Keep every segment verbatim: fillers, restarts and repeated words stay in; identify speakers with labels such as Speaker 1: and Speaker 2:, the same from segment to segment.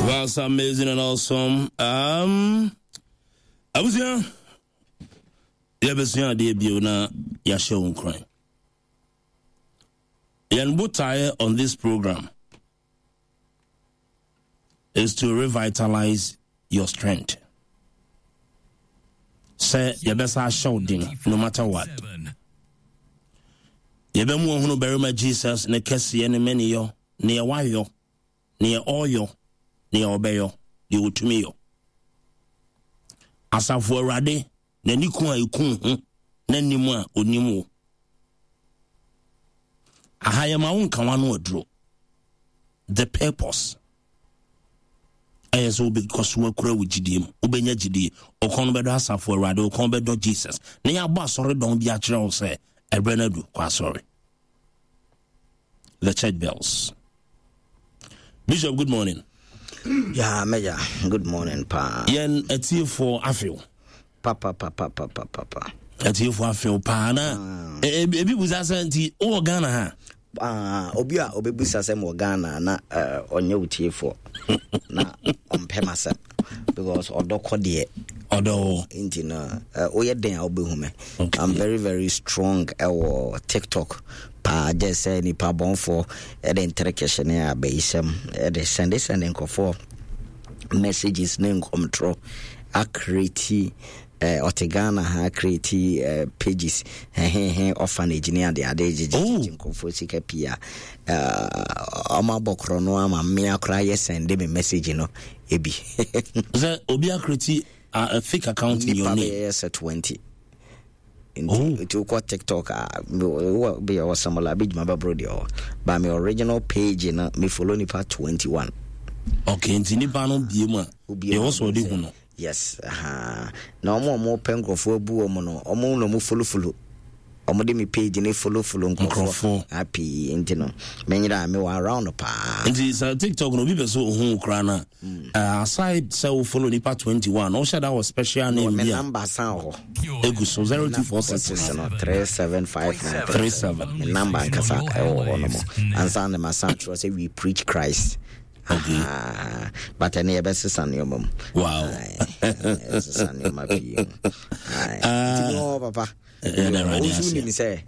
Speaker 1: That's amazing and awesome. Um, abusua, yɛbɛsua adeɛ bio na yɛahyɛ wo nkuran. Yɛn botaeɛ on this program is to revitalize your strength. Sɛ yɛbɛsa ahyɛ wo den no matter what. Yɛbɛmu ɔhunu barima Jesus ne kɛseɛ ne mmaniyɔ, neɛ wayɔ, neɛ ɔyɔ, neɛ ɔbɛyɔ, deɛ ɔtumi yɔ. Asafo Awurade n'ani ko a ɛku ho n'anim a onim wo. Aha yɛma wo nka w'ano aduro. The purpose ɛyɛ sɛ wobɛkɔ so akura wo gyidie mu, wobɛnya gyidie, ɔkɔn no bɛdɔ Asafo Awurade, ɔkɔn bɛdɔ Jesus, na yɛabɔ asɔre dɔn bi akyerɛ wo sɛ ɛberɛ no adu, kɔ asɔre. The church bells. Bishop, good morning.
Speaker 2: Yeah, Major, good morning, pa.
Speaker 1: Yɛn atiefoɔ afew.
Speaker 2: Papa, papa, papa, papa.
Speaker 1: Atiefoɔ afew paa na ebi busa sɛ nti wowɔ Ghana ha?
Speaker 2: Uh, obi a obebusa sɛ mewɔ Ghana na ɔnyɛ wo tiefoɔ na ɔmpɛ m'asɛm because ɔdɔ kɔ deɛ
Speaker 1: ɔdɔ
Speaker 2: nti no woyɛ den a wobɛhu me. I'm very very strong ɛwɔ TikTok paa, gye sɛ nipa bɔnfoɔ ɛde ntere kɛhyɛ ne abayisɛm ɛde sɛnde sɛnde nkurɔfoɔ messages ne nkɔmtorɔ acreate ɔte Ghana ha, create uh, pages hehehe orphanage ne ade ade gyegyegye nkurɔfoɔ sika pii a ɔmo abɔ korɔ no ama mmea koraa yɛ sɛnde me message no ebi.
Speaker 1: Sɛ obi acreate a, a fake account in your name.
Speaker 2: Nipa bɛyɛ sɛ twenty. Nti nti wokɔ TikTok a, wɔ bɛyɛ wɔ sɛmɔla bi dwuma bɛboro deɛ ɔwɔ, but me original page no, me follow nipa twenty one.
Speaker 1: Okay, nti nipa no bie mu a deɛ wɔ sɛ ɔde hu no.
Speaker 2: Yes, uh, na ɔmo a ɔmo pɛ nkurɔfoɔ abu wɔn no, ɔmo na ɔmo follow follow, ɔmo de me page ne follow follow nkurɔfoɔ pii, nti no menyera me wɔ around paa.
Speaker 1: Nti sɛ TikTok no obi pɛ sɛ ohun koraa na aside sɛ wo follow nipa twenty one, ɔhyɛ da wɔ special name bi
Speaker 2: a number san hɔ
Speaker 1: egu so zero two four six
Speaker 2: no three seven five nine
Speaker 1: three seven.
Speaker 2: Me number ankasa ɛwɔ hɔ no mo ansa na ma san kyerɛ sɛ we preach Christ.
Speaker 1: Okay.
Speaker 2: Uh, but ɛne yɛbɛsesa nneɛma mu.
Speaker 1: Wow.
Speaker 2: Yɛbɛsesa nneɛma pii mu. Nti wɔ papa. Wo nim sɛ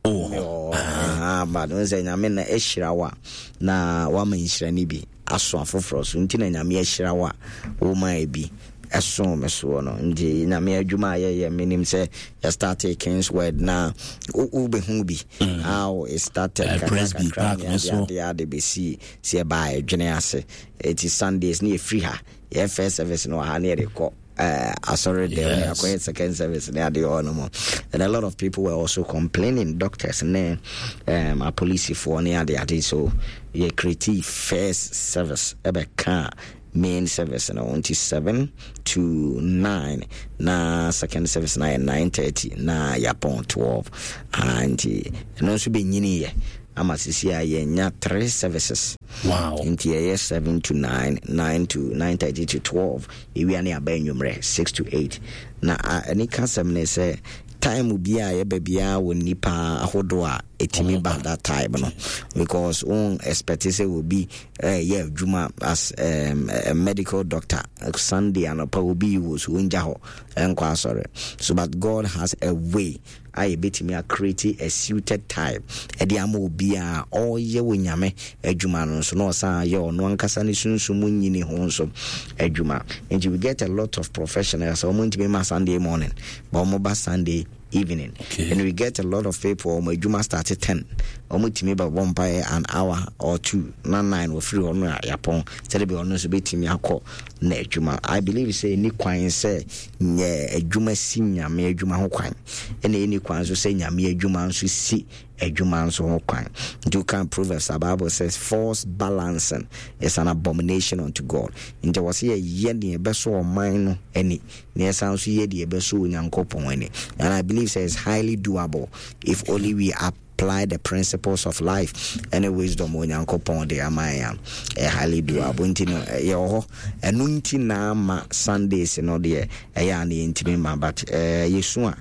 Speaker 2: but wo sɛ Nyame na ahyira wo a na woama nhyira no bi aso afoforɔ so, nti na Nyame ahyira wo a woma bi ɛso me soɔ no. Nti Nyame adwuma a yɛyɛ, menim sɛ yɛstarte Kings Word na wobɛhu bi how it started kakrakakra ne adeade ade bɛsii sɛ yɛbaa ɛdwene ase. Ɛti Sundays ne yɛfiri ha, yɛ first service no wɔ ha ne yɛde kɔ asɔre dɛm ne akɔyɛ second service ne adeɛ hɔ no mu. And a lot of people were also complaining, doctors ne um, apolisifoɔ ne ade ade, so yɛ create first service ɛbɛka main service no, nti seven to nine, na second service na yɛ nine thirty na yɛapɔn twelve. uh, nti ɛno nso bɛnyini yɛ ama sisi a yɛnya three services.
Speaker 1: Wow.
Speaker 2: Nti yɛyɛ seven to nine, nine to nine thirty to twelve, ewia ne aba enwummerɛ six to eight. Na ɛne ka sɛm ne sɛ time bi a yɛba biara wɔ nipa ahodoɔ a ɛtumi ba that time no, because wɔn expect sɛ obi ɛyɛ adwuma as um, a medical doctor, Sunday anɔpa obi yi wɔ so ongya hɔ ɛnkɔ asɔre so, but God has a way a yɛbɛtumi acreate a suited time ɛde ama obi a ɔreyɛ wɔ Nyame adwuma no nso na ɔsan yɛ ɔno ankasa ne sunsum mu nyini ho nso adwuma. Nti we get a lot of professionals, ɔmo ntumi ma Sunday morning, but ɔmo ba Sunday evening.
Speaker 1: Okay.
Speaker 2: And we get a lot of people, ɔmo adwuma start at ten, ɔmo tumi bɛbɔ mpaeɛ an hour or two na nine wɔfiri hɔ no a yɛapɔn, sɛde bi ɔno nso bɛtumi akɔ na adwuma. I believe sɛ ɛni kwan sɛ nyɛ adwuma si Nyame adwuma ho kwan, ɛna ɛni kwan nso sɛ Nyame adwuma nso si adwuma nso ho kwan. Nti woka Proverbs a, Bible says false balancing is an abomination unto God. Nti wɔ sɛ yɛyɛ deɛ ɛbɛso ɔman no ani na yɛsan nso yɛ deɛ ɛbɛso Onyankopɔn ani, and I believe sɛ it's highly doable if only we apply the principles of life ɛne wisdom Onyankopɔn de ama yɛn a, ɛyɛ highly doable. Nti no yɛwɔ hɔ, ɛno nti na ama Sundays no deɛ ɛyɛ a na yɛntumi ma, but ɛɛ yɛsu a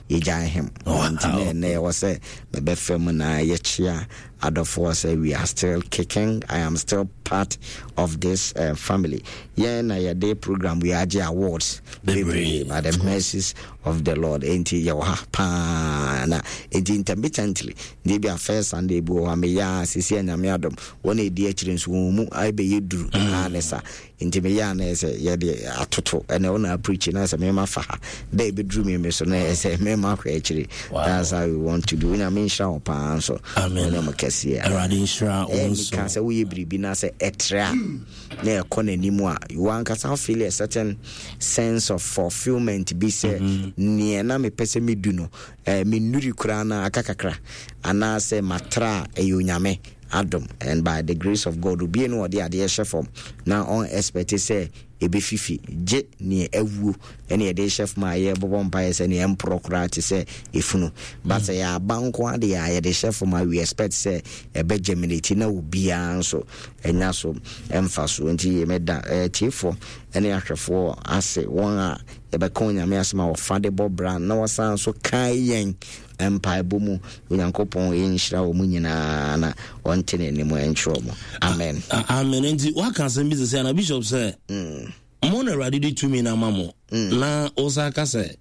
Speaker 2: yɛgyae hem. Nti na ɛnɛ ɛwɔ sɛ mebɛfɛ mu na yɛkyea Adɔfoɔ sɛ we are still kicking. I am still part of this uh, family. Yɛn na yɛde program we agye awards bebree by the mercies of the Lord. Enti yɛwɔ ha paa na enti intermittently deɛ bi a first Sunday bi wɔ hɔ a meyɛ a sisi Anyame adom wɔn a ɛdi akyire nso wɔn mu ayɛbɛyɛ duru mm. Ne sa nti meyɛ a na ɛsɛ yɛde atoto ɛna ɔna apreach na sɛ mema fa ha da ɛbɛduru me me so na ɛsɛ mema hwɛ akyire. That's how we want to do. Onyame nhyira wo paa nso.
Speaker 1: Ɔne
Speaker 2: mo kɛseɛ.
Speaker 1: Awurade nhyira wo nso.
Speaker 2: Ka sɛ woyɛ biribi na sɛ ɛtrɛ a na ɛkɔ n'anim a, wankasa feel a certain sense of fulfillment bi sɛ mm-hmm. neɛ na mepɛ sɛ medu no, eh, mennuri koraa na aka kakra anaasɛ matra a, ɛyɛ Onyame adom. And by the grace of God, obie no ɔde adeɛ hyɛ fam na ɔn expect sɛ ɛbɛfifi gye neɛ awuo ɛne yɛde hyɛ fam a yɛbɔbɔ mpaeɛ sɛ neɛ ɛmporɔ koraa te sɛ ɛfunu, but sɛ yɛaba nko adeɛ a yɛde hyɛ fam a, we expect sɛ ɛbɛ germinate na obiara nso ɛnya so ɛmfa so. Nti meda tiefoɔ ɛne ahwɛfoɔ ase, wɔn a yɛbɛka Onyame asɛm a wɔfa de bɔ bra na wɔsan so kae yɛn mpaebɔ mu. Onyankopɔn yɛnhyira wɔ mu nyinaa na ɔnte n'anim ɛnkyerɛ mu. Amen.
Speaker 1: Amen. Nti waka asɛm bi sɛ sɛ na Bishop sɛ mm. mo na Awurade de tumi no ama mo mm. na wosa ka sɛ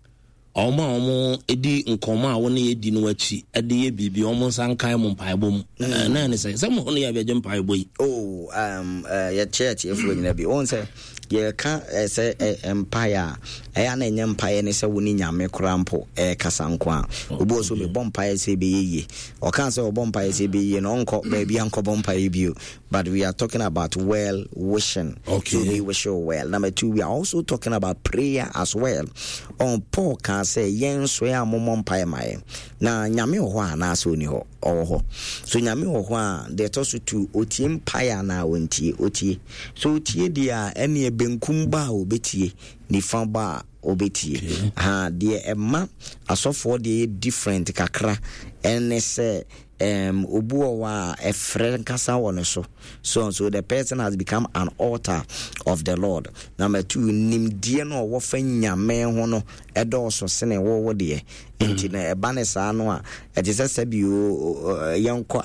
Speaker 1: ɔmo a ɔmo di nkɔmɔ a wɔne yɛ di no akyi de yɛ biribi, ɔmo nsa nkae mo mpaebɔ mu mm. Na ɛne sɛ sɛ mo ne yɛ bɛgye mpaebɔ yi.
Speaker 2: Oh, um, uh, yɛkyerɛ atiefoɔ nyina bi wɔn sɛ yɛka sɛ mpaeɛ a ɛyɛ na ɛnyɛ mpaeɛ ne sɛ wo ne Nyame koraa mpo ɛkasa nko a. Obi wɔ so mebɔ mpaeɛ sɛ ɛbɛyɛ yie, ɔka sɛ ɔbɔ mpaeɛ sɛ ɛbɛyɛ yie no, ɔnkɔ baabi a nkɔbɔ mpaeɛ bio, but we are talking about well wishing.
Speaker 1: Okay.
Speaker 2: So we wish you well. Number two, we are also talking about prayer as well. On Paul ka sɛ yɛn nso yɛ a mommɔ mpaeɛ ma yɛn. Na Nyame wɔ hɔ anaasɛ ɔni hɔ? Ɔwɔ hɔ. So Nyame wɔ hɔ a, deɛ ɛtɔ so tu, ɔtie mpaeɛ anaa ɔntie? Ɔtie. So ɔtie deɛ a, ɛneɛ benkum ba a ɔbɛtie, nifa ba a ɔbɛtie.
Speaker 1: Okay.
Speaker 2: Ha deɛ ɛma asɔfoɔ deɛ yɛ different kakra ɛne sɛ um, obi wɔ hɔ a ɛfrɛ nkasa wɔ ne so so so the person has become an altar of the Lord. Number two, nimdeɛ no a ɔwɔ fa Nyame ho no ɛdɔɔso sene wɔwɔ deɛ, nti na ɛba ne saa no a, ɛte sɛ sɛbi yɛnkɔ